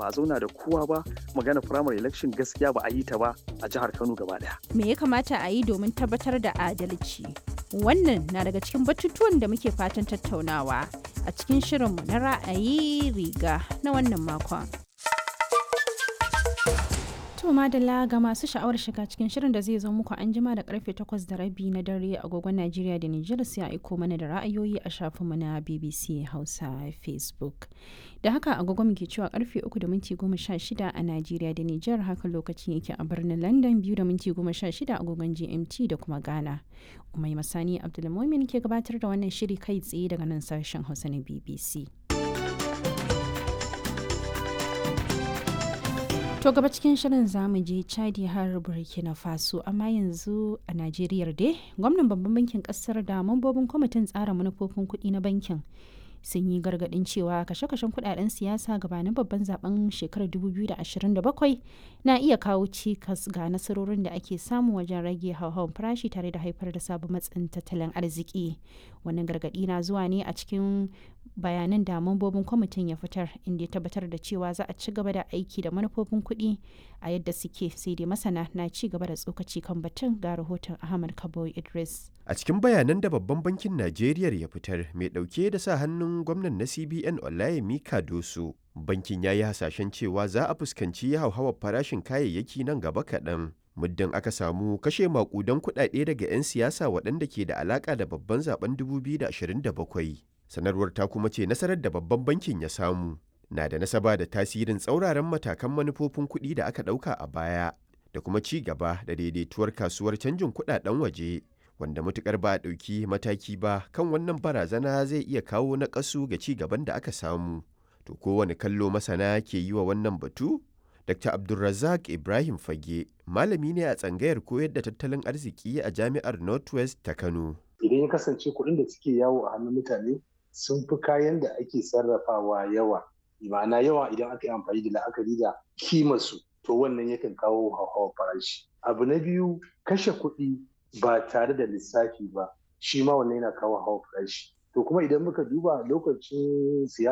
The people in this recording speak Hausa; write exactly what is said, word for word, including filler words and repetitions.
Ba a zauna da kowa ba, magana primary election gaskiya ba a yi ta ba a jihar Kano gaba daya. Me ya kamata a yi domin tabbatar da adalci? Wannan na daga cikin batutuwan da muke fatan tattaunawa a cikin shirinmu na ra'ayi riga na wannan makon. To madalla, ga masu sha'awar shiga cikin shirin da zai zo muku an jima da karfe takwas da rabi na dare agogon Najeriya da Nijar, sai a aiko mana da ra'ayoyi a shafinmu na B B C Hausa Facebook. Da haka agogon muke cewa karfe uku da minti goma sha shida a Najeriya da Nijar, haka lokacin yake a birnin London, biyu da minti goma sha shida agogon G M T da kuma Ghana. Umai Masani Abdulmumin ke gabatar da wannan shiri kai tsaye daga nan sashen Hausa na B B C. To gaba cikin shirin zamu je Chadi har Burkina Faso, amma yanzu a Najeriya dai, gwamnan babban bankin kasar da mambobin kwamitin tsara manufofin kuɗi na bankin sun yi gargaɗin cewa kashe-kashen kuɗaɗen siyasa gabanin babban zaben shekarar dubu biyu da ashirin da bakwai na iya kawo cikas ga nasarorin da ake samu wajen rage hauhawar farashi tare da haifar da sabon matsin tattalin arziki. Wannan gargaɗi na zuwa ne a cikin bayanan da mambobin kwamitin ya fitar, inda ya tabbatar da cewa za a ci gaba da aiki da manufofin kuɗi a yadda suke. Sai dai masana na ci gaba da tsokaci kan batun. Ga rahoton Ahmad Kabo Idris. A cikin bayanan da babban bankin Najeriya ya fitar mai ɗauke da sa hannun gwamnan na C B N Olayemi Cardoso, bankin ya yi hasashen cewa za a fuskanci hauhawar farashin kayayyaki nan gaba kaɗan, muddin aka samu kashe maƙudan kuɗaɗe daga 'yan siyasa waɗanda ke da alaƙa da babban zaben dubu biyu da ashirin da bakwai. Sanarwar ta kuma ce nasarar da babban bankin ya samu na da nasaba da tasirin tsauraran matakan manufofin kuɗi da aka ɗauka a baya da kuma ci gaba da daidaituwar kasuwar canjin kuɗaɗen waje, wanda matukar ba a ɗauki mataki ba kan wannan barazana zai iya kawo naƙasu ga ci gaban da aka samu. To kowane kallo masana ke yi wa wannan batu? Doctor Abdulrazak Ibrahim Fage malami ne a tsangayar koyar da tattalin arziki a Jami'ar Northwest ta Kano. Idan ya kasance kuɗin da suke yawo a hannun mutane sun fi kayan da ake sarrafawa yawa, ma'ana yawa idan aka yi amfani da la'akari da kimarsu, to wannan yakan kawo hauhawar farashi. Abu na biyu, kashe kuɗi ba tare da lissafi ba, shi ma wannan yana kawo hauhawar farashi. To kuma idan muka duba lokacin siyasa